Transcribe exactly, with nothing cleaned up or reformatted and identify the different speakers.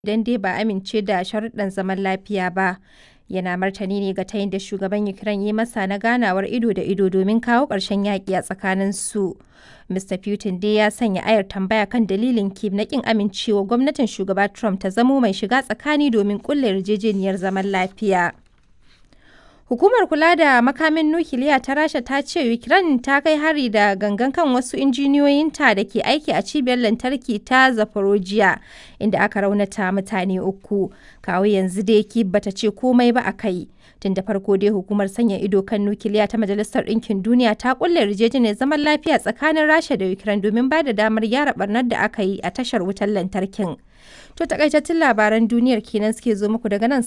Speaker 1: Idan dai ba a amince da sharuɗɗan zaman lafiya ba, yana martani ne ga tayin da shugaban Ukraine ya masa na ganawar ido da ido domin kawo ƙarshen yaƙi a tsakaninsu. Mister Putin dai ya sanya ayar tambaya kan dalilin Kyiv na ƙin amincewa gwamnatin Shugaba Trump ta zamo mai shiga tsakani domin ƙulla yarjejeniyar zaman lafiya. Hukumar Kula da Makamin Nukiliya ta Rasha ta ce Ukraine ta kai hari da gangan kan wasu injiniyoyinta da ke aiki a cibiyar lantarki ta Zaporozhye, inda aka raunata mutane uku. Kawo yanzu dai Kyiv bata ce komai ba a kai. Tun da farko dai hukumar sanya ido kan nukiliya ta Majalisar Ɗinkin Duniya ta kulle yarjejeniyar zaman lafiya tsakanin Rasha da Ukraine domin ba da damar gyara barnar da aka yi a tashar wutar lantarkin. To, takaitattun labaran duniyar kenan suke zo muku daga nan.